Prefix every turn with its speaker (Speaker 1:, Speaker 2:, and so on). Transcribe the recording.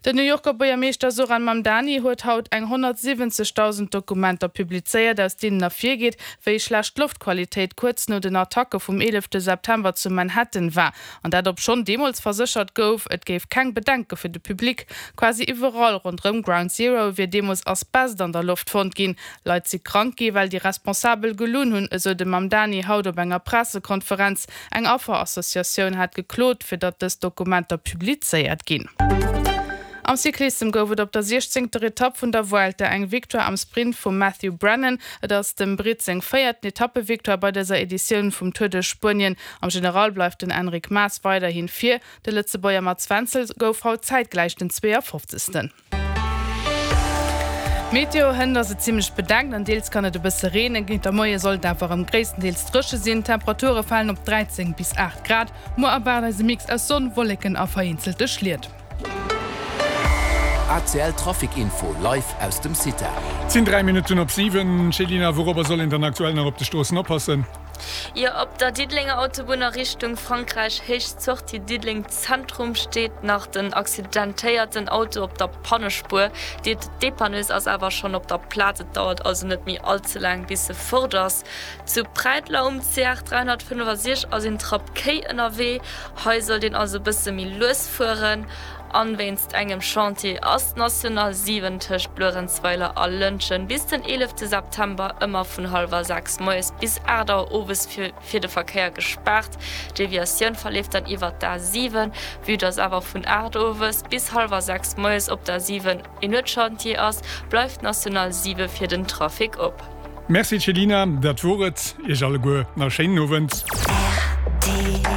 Speaker 1: Den New Yorker Buergermeeschter Zohran Mamdani huet haut eng 170.000 Dokumenter publizéiert, aus deenen ervirgeet, wéi schlecht d'Loftqualitéit kuerz no den Attacke vum 11 September zu Manhattan war. An dat obschonn deemools verséchert gouf, et géif keng Bedenke fir de Public. Quasi iwwerall ronderëm Ground Zero wier deemools Asbest an der Loft fonnt ginn. Leit si krank gi well déi Responsabel gelunn hunn, esou de Mamdani haut op enger Pressekonferenz. Eng Afferassociatioun hat geklot, fir datt dës Dokumenter publizéiert ginn. Am Cyclissem gouf et op der siechzéngter Etapp vun der Vuelta eng Victoire am Sprint vum Matthew Brennan. Et ass dem Britt seng véierten Etappevictoire bei dëser Editioun vum Tour de Spuenien. Am General bleift den Enric Mas weiderhin vir. De Lëtzebuerger Mats Wenzel gouf haut zäitgläich den 52. Meteo, Hënt ass et zimmlech bedeckt an deels kann et e bësse reenen. Géint der Moie soll et awer erëm gréisstendeels dréche sinn. D'Temperature falen op 13 bis 8 Grad. Muer erwaart eis e Mix aus Sonn, Wolleken a vereenzelte Schliet.
Speaker 2: ACL Trafic Info live aus dem CITA.
Speaker 3: Et sinn 3 Minutten op 7. Céline, wourobber soll een dann aktuell nach op de Stroossen oppassen?
Speaker 4: Jo, op der Diddelenger Autobunn a Richtung Frankräich, Héicht Sortie Diddeleng Zentrum, steet nach den accidentéierten Auto op der Pannespuer. D'Dépanneuse ass awer schonn op der Plaz, et dauert also net méi all ze laang bis se fort ass. Zu Präidler um CR 365 ass een Trapp Kéi ënnerwee, hei sollt een also bësse méi lues fueren. An wéinst engem Chantier ass d'National 7 tëscht Luerenzweiler a Lëntgen bis den 11 September ëmmer vun hallwer 6 moies bis 8 Auer owes fir de Verkéier gespaart. D'Deviatioun verleeft dann iwwer d'A 7. Vue dass awer vun 8 owes bis hallwer 6 moies op der 7 en Nuetschantier ass, bleift d'National 7 fir den Trafic op.
Speaker 3: Merci Céline, dat wor et. Iech alleguer nach e schéinen Owend.
Speaker 5: Rtl.